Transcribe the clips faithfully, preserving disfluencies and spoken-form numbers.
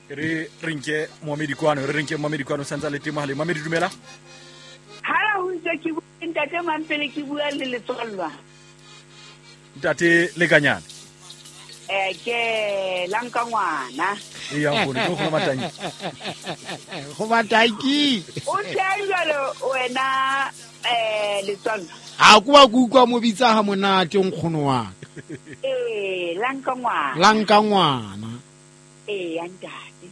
Re re nke Mohamedi kwano, re re nke Mohamedi kwano santsa le temo hale. Mohamedi dumela. Hala ho itse ke bua ntate Mampele, ke bua le letswallwa. Ntate Lekanyane. Eh ke lanka ngwana. E ya nkgono, ke go matanki. Go matanki. O tshela wena eh letswallwa. Ha ku ba ku utlwa mo bitsa ha monate nkgono wa ka. Eh lanka ngwana. Lanka ngwana. Eh ntate.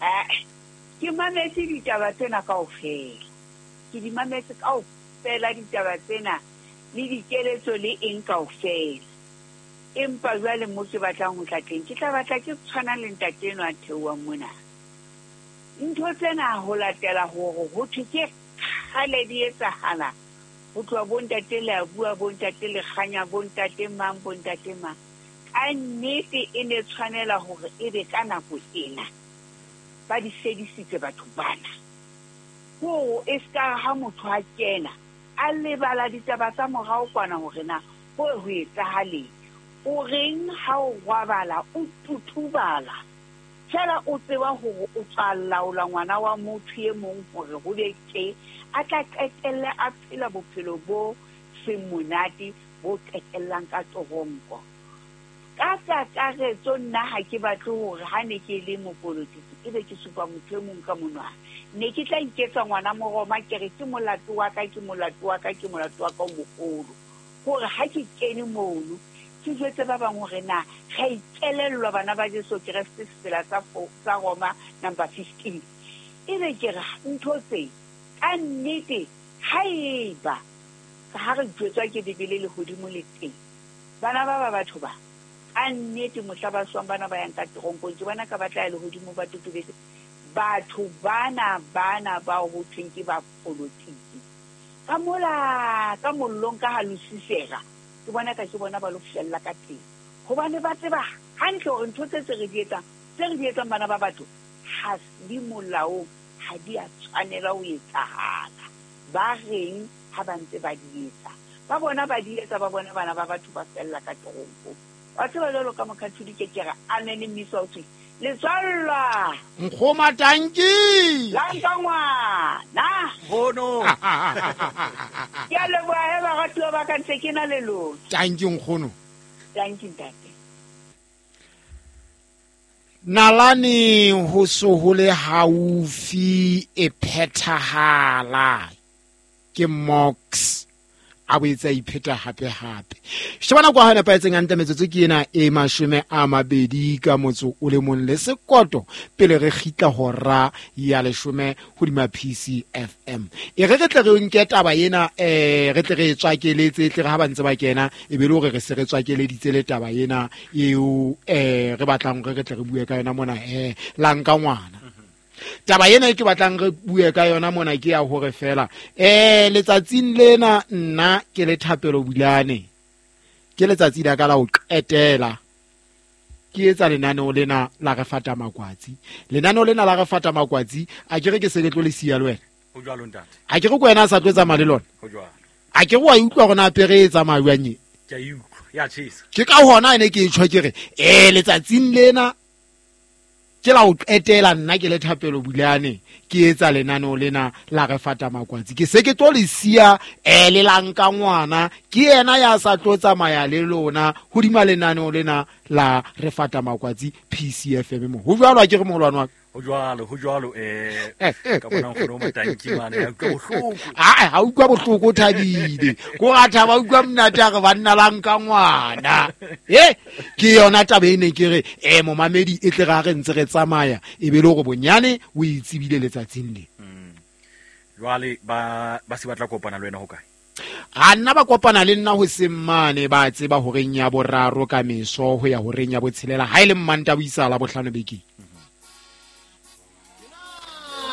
Eh ke mametse ditaba tsena kaofela. Ke di mametse kaofela ditaba tsena le dikeletso le eng kaofela. Empa jwale mo ke batlang ho tla teng, ke tla batla ke tshwana le ntate enwa a theohang mona. Ntho tsena ho latela hore ho thwe ke kgale di etsahala. Ho tloha bo ntate le a bua, bo ntate le kganya, bo ntate mang, bo ntate mang. Ka nnete e ne tshwanela hore ebe ka nako ena ba di fedisitse batho bana. Hore e ska ha motho a kena a lebala ditaba tsa morao kwana hore na ho ho etsahaleng. O reng ha o robala o tutubala fela o tseba hore o tla laola ngwana wa motho e mong hore ho be tje a tla qetelle a phela bophelo bo seng monate bo qetellang ka toronko. Ka kakaretso nna ha ke batle hore ha ne ke le mopolotiki ebe ke supa motho e mong ka monwana. Ne ke tla iketsa ngwana Moroma ke re ke molato wa ka, ke molato wa ka, ke molato wa ka o moholo. Hore ha ke kene mono ke jwetse ba bang hore na ga ikelellwa bana ba Jesu Kreste tsela tsa tsa Roma number fifteen. Ebe ke re ntho tse ka nnete haeba ha re jwetswa ke Bibele le hodimo le teng. Bana ba ba batho ba ka nnete mohla ba swang bana ba yang ka teronkong ke bona ka batla le hodimo ba totobetse. Batho bana bana ba ho thweng ke ba politiki. Ka mola ka mollong ka ha Lucifera ke bona ka ke bona ba lo fella ka teng. Hobane ba tseba hantle hore ntho tse tse re di etsang, tse re di etsang bana ba batho ha di molaong, ha di a tshwanela ho etsahala. Ba reng ha ba ntse ba di etsa. Ba bona ba di etsa, ba bona bana ba batho ba fella ka teronko. Wa tseba jwalo ka mokatholike ke re amen mmiso o thwe letswallwa. Nkgoma tanki. Lanka ngwana. Nkgono. Ke a leboha he baratuwa ba ka ntse ke na le lona. Tanki nkgono. Tanki ntate. Nalane ho so ho le haufi e phethahala ke Mox a boetse a ipheta hape hape. Shebana kwa hona paetseng hantle metsotso ke ena e mashome a mabedi ka motso o le mong le sekoto pele re kgitla hora ya leshome hodima P C F M. E re re tle re nke taba ena eh re tle re tswakeletse tle re ha ba ntse ba kena e be le hore re se re tswakeleditse le taba ena eo eh re batlang re re tle re bue ka yona mona eh lanka ngwana. Taba ena e ke batlang re bue ka yona mona ke ya hore fela eh letsatsing lena nna ke le Thapelo Bulane ke letsatsi la ka la ho qetela ke etsa lenaneo lena la re fata makwatsi. Lenaneo lena la re fata makwatsi a ke re ke se ke tlo le siya le wena. Ho jwalo ntate. A ke re ko wena a sa tlo tsamaya le lona. Ho jwalo. A ke re wa utlwa hore na pere e tsamaya jwang e? Ke a e utlwa, ya tjhesa. Ke ka hona ene ke e tjho ke re eh letsatsing lena ke la o qetela nna ke le Thapelo Bulane ke etsa lenaneo lena la re fata makwatsi. Ke se ke tlo le siya eh le lanka ngwana ke yena ya sa tlo tsamaya le lona hodima lenaneo lena la re fata makwatsi P C F M mo. Ho jwalo a ke re moholwane wa ka. Ho jwalo, ho jwalo eh ka bona nkgono o matanki mane ya utlwa bohloko. Ah ha utlwa bohloko o thabile. Ko ra thaba utlwa monate a re banna lanka ngwana. Eh ke yona taba e ne ke re eh momamedi e tle ra re ntse re tsamaya e be le hore bonyane o itsebile letsatsing le. Jwale ba ba se batla kopana le wena ho kae? A nna ba kopana le nna ho semmane ba tseba horeng ya boraro ka meso ho ya horeng ya botshelela ha ile mmanta buisa la bohlano bekeng.